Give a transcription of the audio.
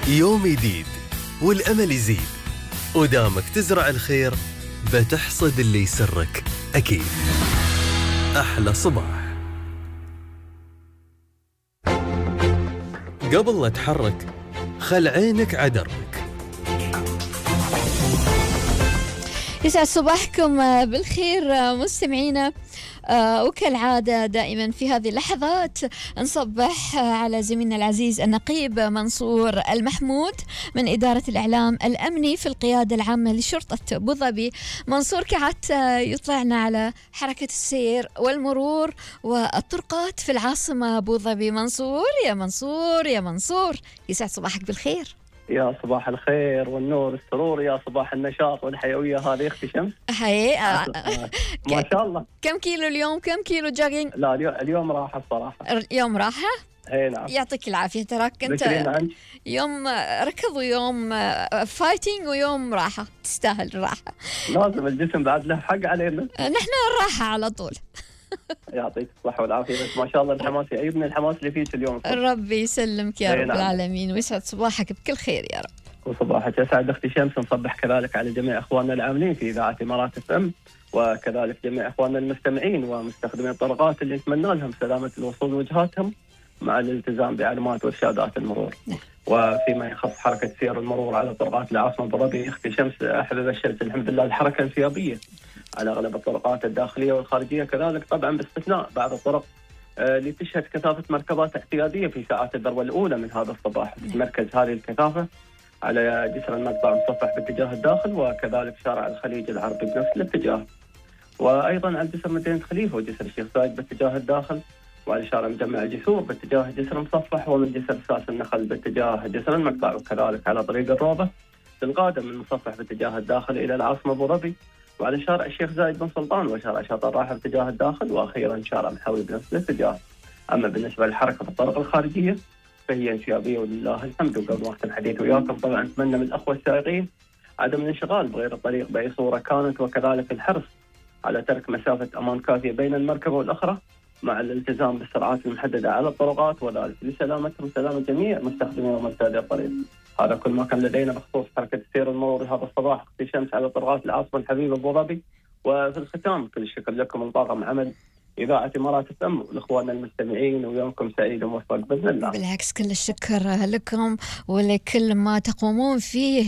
يوم جديد والأمل يزيد، ودامك تزرع الخير بتحصد اللي يسرك أكيد. أحلى صباح. قبل لا تحرك خل عينك عدرك. يسعد صباحكم بالخير مستمعينا، وكالعادة دائما في هذه اللحظات نصبح على زميلنا العزيز النقيب منصور المحمود من إدارة الإعلام الأمني في القيادة العامة لشرطة أبو ظبي. منصور كعادت يطلعنا على حركة السير والمرور والطرقات في العاصمة أبو ظبي. منصور يا منصور يا منصور، يسعد صباحك بالخير. يا صباح الخير والنور والسرور، يا صباح النشاط والحيوية. هذه اختي شمس. هاي ما شاء الله. كم كيلو اليوم؟ كم كيلو جوجينج؟ لا اليوم راحة الصراحة. اليوم راحة؟ اي نعم. يعطيك العافية. تراك انت يوم ركض ويوم فايتنج ويوم راحة، تستاهل الراحة. لازم الجسم بعد له حق علينا. نحن الراحة على طول. يعطيك الصحة والعافية. بس ما شاء الله الحماس يعيبني، الحماس اللي فيك اليوم. ربي يسلمك يا رب العالمين، ويسعد صباحك بكل خير يا رب. وصباحك يسعد اختي شمس. نصبح كذلك على جميع اخواننا العاملين في اذاعة امارات اف ام، وكذلك جميع اخواننا المستمعين ومستخدمين الطرقات اللي نتمنى لهم سلامة الوصول وجهاتهم مع الالتزام بعلامات وارشادات المرور. وفيما يخص حركة سير المرور على طرقات العاصمة أبو ظبي، اختي شمس احب ابشرك الحمد لله الحركة انسيابية على اغلب الطرقات الداخلية والخارجية، كذلك طبعا باستثناء بعض الطرق اللي تشهد كثافة مركبات اعتيادية في ساعات الذروة الأولى من هذا الصباح. تتمركز هذه الكثافة على جسر المقطع المصفح باتجاه الداخل، وكذلك شارع الخليج العربي بنفس الاتجاه، وأيضا على جسر مدينة خليفة وجسر الشيخ زايد باتجاه الداخل، وعلى شارع مجمع الجسور باتجاه جسر مصفح، ومن جسر ساس النخل باتجاه جسر المقطع، وكذلك على طريق الروضة تنقادم من مصفح باتجاه الداخل إلى العاصمة أبو ظبي، وعلى شارع الشيخ زايد بن سلطان وشارع شاطئ الراحة باتجاه الداخل، وأخيرا شارع محاوي بنفس الاتجاه. أما بالنسبة للحركة في الطرق الخارجية فهي انسيابية ولله الحمد. وقبل وقت الحديث وياكم طبعا نتمنى من الأخوة السائقين عدم الانشغال بغير الطريق بأي صورة كانت، وكذلك الحرص على ترك مسافة أمان كافية بين المركبة والأخرى مع الالتزام بالسرعات المحددة على الطرقات، وذلك لسلامتهم وسلامة جميع مستخدمين ومرتادي الطريق. هذا كل ما كان لدينا بخصوص حركة السير المرور هذا الصباح اختي شمس على طرقات العاصمة الحبيبة أبو ظبي. وفي الختام كل الشكر لكم من طاقم عمل إذاعة إمارات اف ام ولإخواننا المستمعين، ويومكم سعيد وموفق بإذن الله. بالعكس كل الشكر لكم ولكل ما تقومون فيه